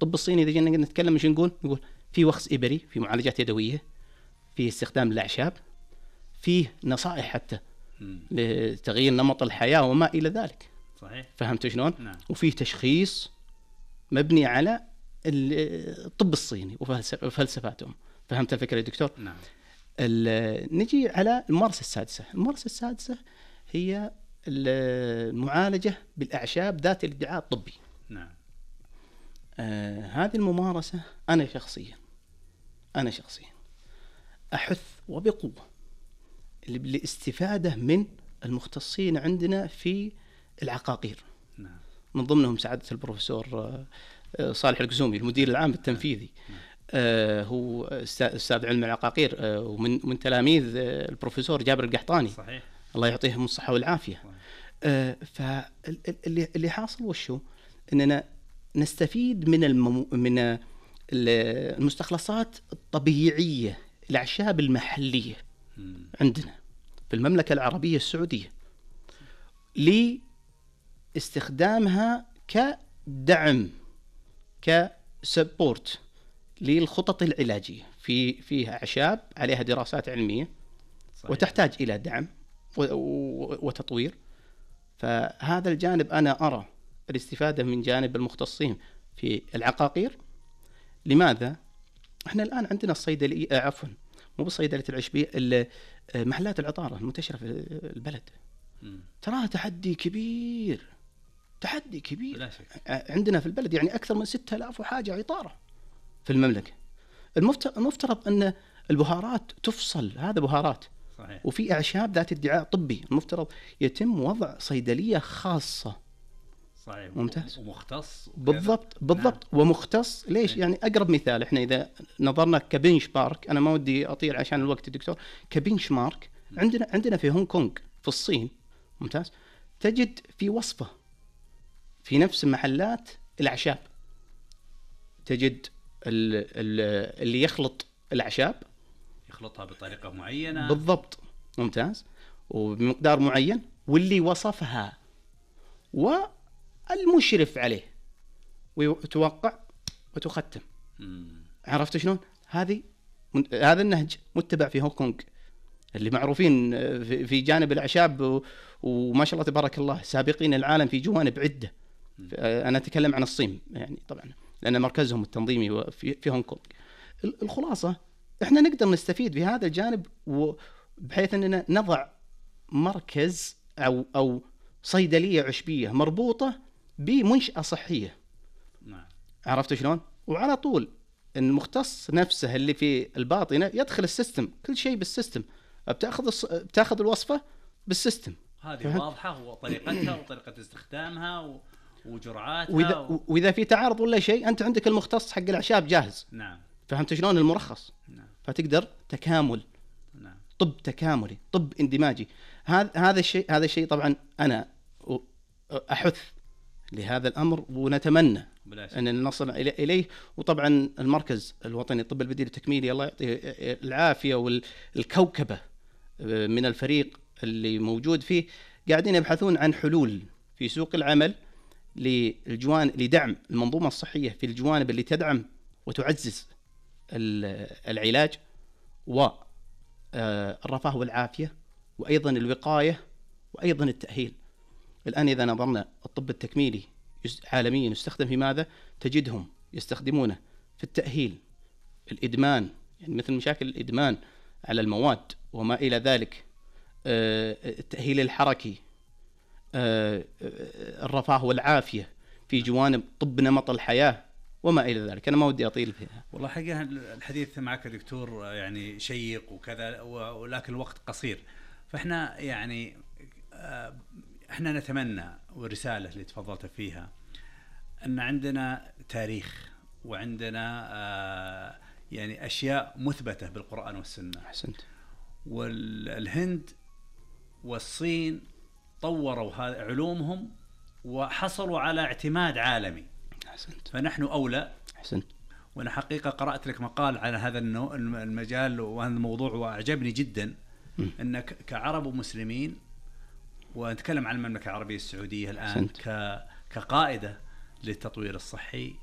الطب الصيني إذا جينا نتكلم إيش نقول في وخز إبري، في معالجات يدوية، في استخدام الأعشاب، فيه نصائح حتى لتغيير نمط الحياة وما إلى ذلك. صحيح. فهمت شلون؟ نعم. وفيه تشخيص مبني على الطب الصيني وفلسفاتهم. فهمت الفكرة يا دكتور؟ نعم. نجي على الممارسة السادسة. الممارسة السادسة هي المعالجة بالأعشاب ذات الادعاء الطبي. نعم. هذه الممارسة أنا شخصيا أحث وبقوة للاستفادة من المختصين عندنا في العقاقير. نعم. من ضمنهم سعادة البروفيسور صالح القزومي المدير العام التنفيذي. هو أستاذ علم العقاقير ومن تلاميذ البروفيسور جابر القحطاني. صحيح. الله يعطيهم الصحة والعافية. فاللي حاصل وشو إننا نستفيد من المستخلصات الطبيعية، الأعشاب المحلية عندنا في المملكة العربية السعودية، لاستخدامها كدعم، كسبورت للخطط العلاجية. فيها أعشاب عليها دراسات علمية. صحيح. وتحتاج إلى دعم وتطوير. فهذا الجانب أنا أرى الاستفادة من جانب المختصين في العقاقير. لماذا؟ احنا الآن عندنا الصيدلية، مو بصيدلة العشبية، محلات العطارة المنتشرة في البلد تراها تحدي كبير عندنا في البلد. يعني أكثر من 6000 وحاجة عطارة في المملكة. المفترض أن البهارات تفصل، هذا بهارات. صحيح. وفي أعشاب ذات ادعاء طبي، المفترض يتم وضع صيدلية خاصة. صحيح. ممتاز. ومختص. بالضبط. نعم. ومختص. ليش؟ نعم. يعني أقرب مثال، إحنا إذا نظرنا كبنش مارك، أنا ما ودي أطير عشان الوقت دكتور، كبنش مارك عندنا في هونغ كونغ في الصين. ممتاز. تجد في وصفة في نفس محلات الأعشاب، تجد اللي يخلط الأعشاب يخلطها بطريقة معينة. بالضبط. ممتاز. وبمقدار معين، واللي وصفها والمشرف عليه، وتوقع وتختم. عرفت شلون؟ هذا النهج متبع في هونغ كونغ، اللي معروفين في جانب الأعشاب وما شاء الله تبارك الله سابقين العالم في جوانب عدة. أنا أتكلم عن الصين يعني طبعا لأن مركزهم التنظيمي في هونغ كونغ. الخلاصة إحنا نقدر نستفيد في هذا الجانب، بحيث أننا نضع مركز أو صيدلية عشبية مربوطة بمنشأة صحية. نعم. عرفت شلون؟ وعلى طول المختص نفسه اللي في الباطنة يدخل السيستم، كل شيء بالسيستم، بتاخذ الوصفة بالسيستم. هذه واضحة، وطريقتها وطريقة استخدامها وجرعاتها وإذا في تعارض ولا شيء، أنت عندك المختص حق الأعشاب جاهز. نعم. فهمت شلون؟ المرخص. نعم. فتقدر تكامل. نعم. طب تكاملي، طب اندماجي. هذا الشيء طبعا أنا أحث لهذا الأمر، ونتمنى أن نصل إليه. وطبعا المركز الوطني للطب البديل التكميلي الله يعطيه العافية والكوكبة من الفريق اللي موجود فيه، قاعدين يبحثون عن حلول في سوق العمل لدعم المنظومة الصحية في الجوانب اللي تدعم وتعزز العلاج والرفاه والعافية، وأيضا الوقاية، وأيضا التأهيل. الآن إذا نظرنا الطب التكميلي عالميا يستخدم في ماذا؟ تجدهم يستخدمونه في التأهيل، الإدمان، يعني مثل مشاكل الإدمان على المواد وما إلى ذلك، التأهيل الحركي، الرفاه والعافية في جوانب طب نمط الحياة وما إلى ذلك. أنا ما ودي أطيل فيها. والله حقيقة الحديث معك دكتور يعني شيق وكذا، ولكن الوقت قصير. فإحنا يعني إحنا نتمنى، والرسالة اللي تفضلت فيها، أن عندنا تاريخ وعندنا يعني أشياء مثبتة بالقرآن والسنة. أحسنت. والهند والصين طوروا علومهم وحصلوا على اعتماد عالمي. أحسنت. فنحن أولى. أحسنت. وأنا حقيقة قرأت لك مقال على هذا المجال وهذا الموضوع وأعجبني جدا، أنك كعرب ومسلمين، ونتكلم عن المملكة العربية السعودية الآن كقائدة للتطوير الصحي،